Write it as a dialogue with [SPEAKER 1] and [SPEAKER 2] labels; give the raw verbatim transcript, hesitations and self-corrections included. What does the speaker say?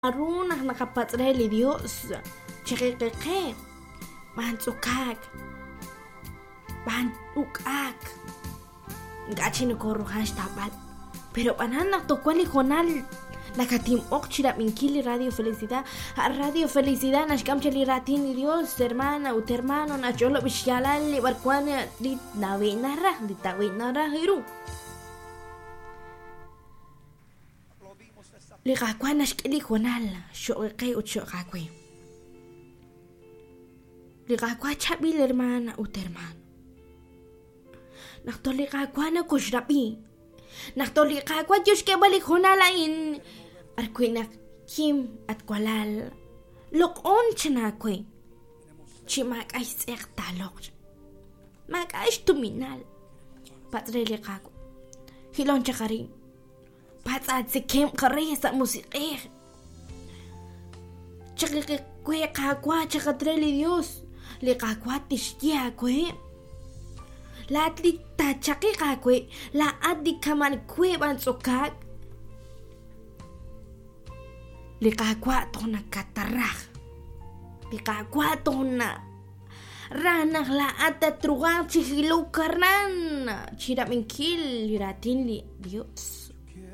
[SPEAKER 1] Naru naq naqapatz' re li Dios chiqiqiqe b'an tz'okaak b'an uk'aak ink'a' chi nokoruhan xtawb'al pero b'anan naq toj wan li hoonal nakatinb'oq chirab'inkil li Radio Felicidad. A Radio Felicidad naxk'am chaq li raatin li Dios, hermana ut hermano, naxch'olob' xyaalal li b'arwan li nawi' naraj li tawi' naraj ru. Li Qaawa' naxk'e li hoonal xo'q qe ut xo'q aawe. Li Qaawa' chaab'il, hermana ut hermano. Naq toj li Qaawa' nakoxrab'i, naq toj li Qaawa' yo xk'eeb'al li hoonal a'in b'arwi' naq kim at walal loq'on chan aawe chi maak'a' xtz'eq taaloq', maak'a' xtuminal. Patz' re li Qaawa', jilon chaq arin, patz' aatzekemq re sa' musiq'ej. Chaqiqiwe Qaawa', chaqat re li Dios, li Qaawa' tixye aawe. Laa'at li taachaqiq aawe, laa'at li kaman we b'an tz'okaak. Li Qaawa' toj nakataraj, li Qaawa' toj naraj naq laa'at tatruhanq chi jilok aran chirab'inkil li raatin li Dios.